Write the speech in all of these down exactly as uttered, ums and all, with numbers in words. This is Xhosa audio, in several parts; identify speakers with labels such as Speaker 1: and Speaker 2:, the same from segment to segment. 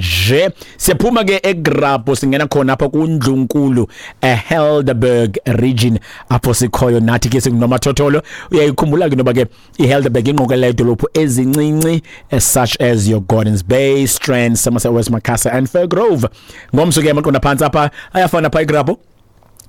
Speaker 1: Nje siyaphuma ke eGrabho, singena khona apha kuNdlunkulu, eHelderberg region, apho sikhoyo nathi ke singunomathotholo. Uyayikhumbula ke noba ke iHelderberg ingqokelela idolophu ezincinci such as your Gordons Bay, Strand, Somerset West, Macassar and Fairgrove. Ngomso ke amaqonda phantsi apha ayafana pha eGrabho.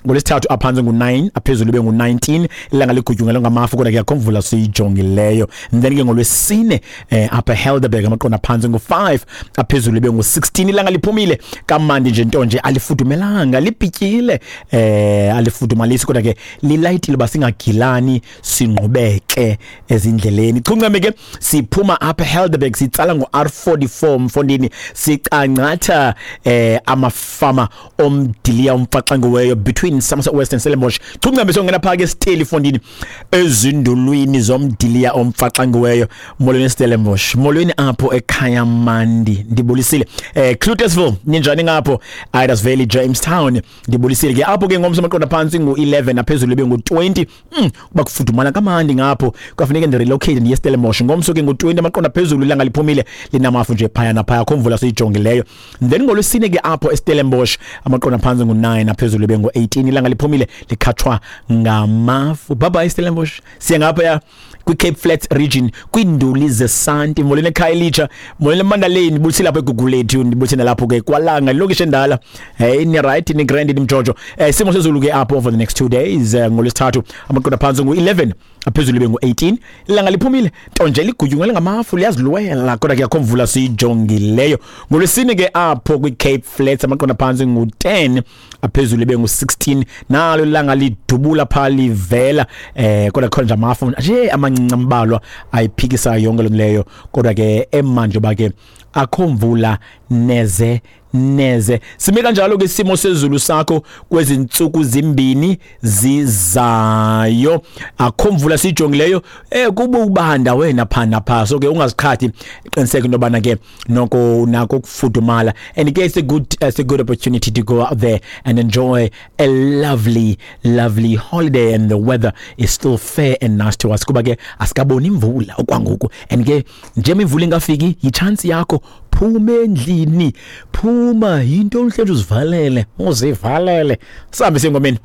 Speaker 1: NgoLwesithathu aphantsi ngu-nine, aphezulu ibe ngu-nineteen, ilanga ligutyungelwe ngamafu, kodwa ke akho mvula siyijongileyo. And then ke ngoLwesine eh, apha eHelderberg amaqonda phantsi ngu-five, aphezulu ibe ngu-sixteen, ilanga liphumile kamandi nje, nto nje alifudumelanga, libhityile, eh alifudumalisi, kodwa ke lilayitile uba singagilani, singqubeke ezindleleni. Chuncame ke siphuma apha eHelderberg, sitsala ngo-R forty-four mfondini, sicangcatha eh amafama omdiliya umfaxangiweyo between Somerset West and Stellenbosch. Chuncame songena phaa ke Steli fondini, ezindulwini zomdiliya omfaxangiweyo. Molweni Stellenbosch, molweni apho ekhaya mandi, ndibulisile. eh Cloetesville, ninjani ngapho? Idas Valley, Jamestown, ndibulisile ke apho ke. Ngomso amaqonda phantsi ngu-eleven, aphezulu ibe ngu-twenty. mm, kuba kufudumala kamandi ngapho, kwafuneka ndirelocate ndiye Stellenbosch. Ngomso ke ngu-twenty amaqonda phezulu, ilanga liphumile, linamafu nje phaya naphaya, akho mvula siyijongileyo. Then ngoLwesine ke apho eStellenbosch amaqonda phantsi ngu-nine, aphezulu ibe ngu-eighteen, ilanga liphumile, likhatshwa ngamafu. Bye bye Stellenbosch, siya ngapha kwi-Cape Flats region, kwiinduli zesanti. Molweni eKhayelitsha, molweni eMandaleni, ndibulisile lapho eGugulethu, ndibulisile nalapho ke kwaLanga, ilokishi endala. Hey, ni right, ni grand, ni mjojo. eh simo sezulu ke apho over the next two days, eh, ngoLwesithathu amaqonda phantsi ngu-eleven, aphezulu ibe ngu-eighteen, ilanga liphumile, nto nje ligutyungelwe ngamafu, liyazilwela, kodwa ke akho mvula siyijongileyo. NgoLwesine ke apho kwi-Cape Flats amaqonda phantsi ngu-ten, aphezulu ibe ngu-sixteen, nalo ilanga lidubula phaa livela, eh kodwa khona nje amafu nje amancinci ambalwa ayiphikisayo yonke loo leyo, kodwa ke emanje uba ke akho mvula neze neze. Sime kanjalo ke isimo sezulu sakho kwezi ntsuku zimbini zizayo, akho mvula siyijongileyo. eh kuba ubanda wena pha napha, so ke ungaziqhathi, qiniseka into yobana ke noko unako ukufudumala. And ke it's a good it's a good opportunity to go out there and enjoy a lovely lovely holiday, and the weather is still fair and nice to us, kuba ke asikaboni imvula okwangoku. And ke njengoba imvula ingafiki, yichance yakho, phuma endlini, phuma, yinto uhleli uzivalele, uzivalele. Sihambe sengomeni.